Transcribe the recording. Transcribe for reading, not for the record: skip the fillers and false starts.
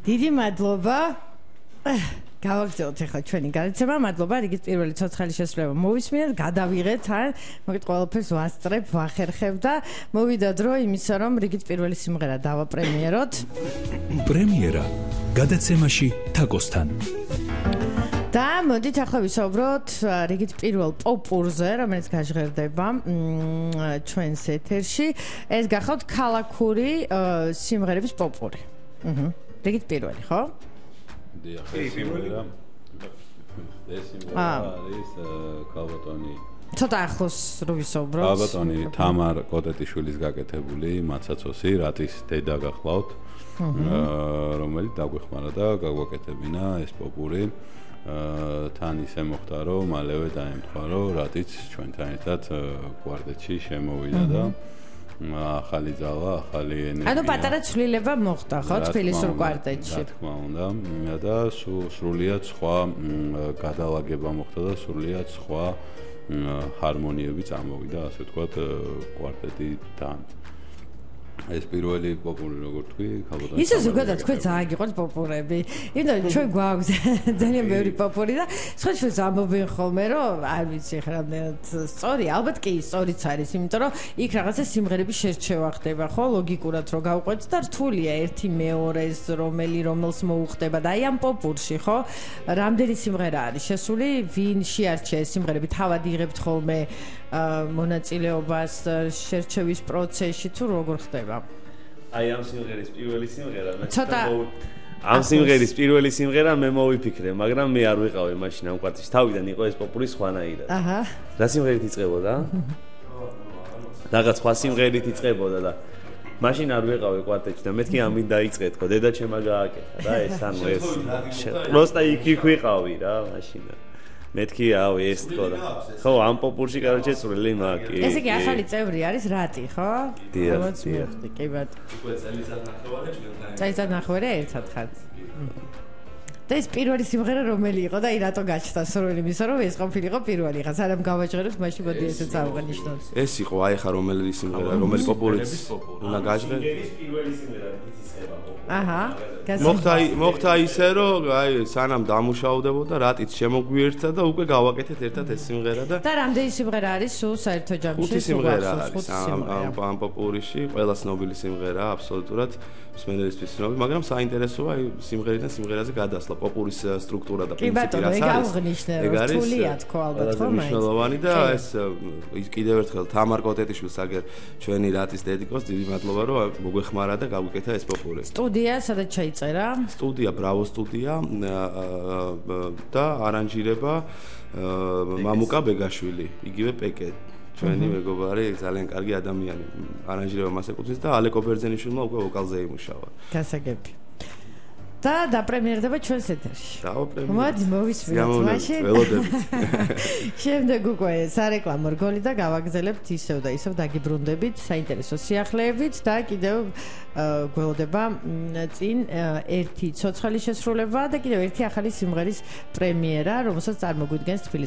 დიდი მადლობა. გავაგრძელოთ ახლა ჩვენი განაცემა. მადლობა რიგით პირველი ცოცხალი შესრულება მოვისმინეთ, გადავიღეთ ან მოგეთ ყველაფერს ვასწრებ, ვახერხებ და მოვიდა დრო იმისა, რომ რიგით პირველი სიმღერა დავაპრემიეროთ. პრემიერა გადაცემაში თაკოსთან. და მოდით ახლა ვისაუბროთ რიგით პირველ პოპურზე, რომელიც გაჟღერდება ჩვენს ეთერში. ეს გახავთ ქალაქური სიმღერების პოპური. რიგით პირველი, ხო? დიახ, ეს სიმღერა არის ქალბატონი. ცოტა ახლოს რო ვისაუბროთ. ქალბატონი თამარ კოტეტიშვილის გაკეთებული მაცაცოსი, რატის დედა გახლავთ, რომელიც დაგვეხმარა და გაგვაკეთებინა ეს პოპური. თან ისე მოხდა, რომ მალევე დაემთხვა, რომ რატიც ჩვენთან ერთად კვარტეტში შემოვიდა და ახალი ძალა, ახალი ენერგია. ანუ პატარა ცვლილება მოხდა, ხო, თბილისურ კვარტეტში. რა თქმა უნდა, და სრულიად სხვა გადალაგება მოხდა და სრულიად სხვა ჰარმონიები წამოვიდა, ასე ვთქვათ, კვარტეტიდან. ეს პირველი პოპური როგორ თქვი, ქალბატონი. ისე ზოგადად თქვენ ძალიან გიყვართ პოპურები. იმიტომ ჩვენ გვაქვს ძალიან ბევრი პოპური და სხვა ჩვენს ამბობენ ხოლმე, რომ არ ვიცი ხა რამდენად სწორი, ალბათ კი სწორიც არის, იმიტომ რომ იქ რაღაცა სიმღერების შერჩევა ხდება, ხო, ლოგიკურად რო გავყვეთ და რთულია ერთი მეორეს რომელს მოუხდება და აი ამ პოპურში, ხო, რამდენი სიმღერა არის შესული, ვინ შეარჩია ეს სიმღერები, თავად იღებთ ხოლმე მონაწილეობას შერჩევის პროცესში თუ როგორ ხდება? აი ამ სიმღერის პირველი სიმღერა მე ცოტა ამ სიმღერის პირველი სიმღერა მე მოვიფიქრე, მაგრამ მე არ ვიყავი მაშინ ამ კვარტეტში. თავიდან იყო ეს პოპური სხვანაირად. აჰა. რა სიმღერით იწყებოდა? რაღაც სხვა სიმღერით იწყებოდა და მაშინ არ ვიყავი კვარტეტში და მეთქი ამით დაიწყე თქო, დედა ჩემა გააკეთა და ეს ანუ ეს პროსტა იქ ვიყავი რა მაშინ. მეთქი ავი ეს თქო და ხო ამ პოპურში კაროჩე წვრილი მაგი. ესე იგი ახალი წევრი არის რატი, ხო? დიახ. კი ბატონო. უკვე წელიწად ნახევარი ჩვენთან. წელიწად ნახევარი ერთად ხართ. და ეს პირველი სიმღერა რომელი იყო და აი რატო გაჩნდა სრული მისა რომ ეს ყოფილიყო პირველი ხა სანამ გავაჟღერებთ მაშინ მოდი ესეც ავღანიშნოთ. ეს იყო აი ხა რომელი სიმღერა, რომელი პოპურიც უნდა გაჟღერ. ეს პირველი სიმღერა იცისება პოპური. აჰა. მოხდა ისე რომ აი სანამ დამუშავდებოდა რატიც შემოგვიერთდა და უკვე გავაკეთეთ ერთად ეს სიმღერა და რამდენი სიმღერა არის სულ საერთო ჯამში? ხუთი სიმღერა არის ამ პოპურიში, ყველა ცნობილი სიმღერა აბსოლუტურად მსმენელისთვის ცნობილი, მაგრამ საინტერესოა აი სიმღერიდან სიმღერაზე გადასვლა, პოპურის სტრუქტურა და პრინციპი რაც არის. კი ბატონო, ეგ აღნიშნე, რომ რთულია თქო ალბათ ხო მაინც. მნიშვნელოვანი და ეს კიდევ ერთხელ თამარ კოტეტიშვილს აგერ ჩვენი რატის დედიკოს დიდი მადლობა რომ მოგვეხმარა და გავუკეთა ეს პოპური. სტუდია სადაც ჩაიწერა? სტუდია ბრავო სტუდია და არანჟირება მამუკა ბეგაშვილი, იგივე პეკე. ჩვენი მეგობარი ძალიან კარგი ადამიანი. არანჟირება მას ეკუთვნის და ალეკო ბერძენიშვილმა უკვე ვოკალზე იმუშავა. გასაგები. და დაპრემიერდება ჩვენს ეთერში. დავაპრემიერებ. მოდი მოვისმინოთ მაშინ. შემდეგ უკვე სარეკლამო რგოლი და გავაგზავნებთ ისევ და ისევ დაგიბრუნდებით საინტერესო სიახლეებით და კიდევ გველოდება წინ ერთი ცოცხალი შესრულება და კიდევ ერთი ახალი სიმღერის პრემიერა, რომელსაც წარმოგვიდგენს თბილისის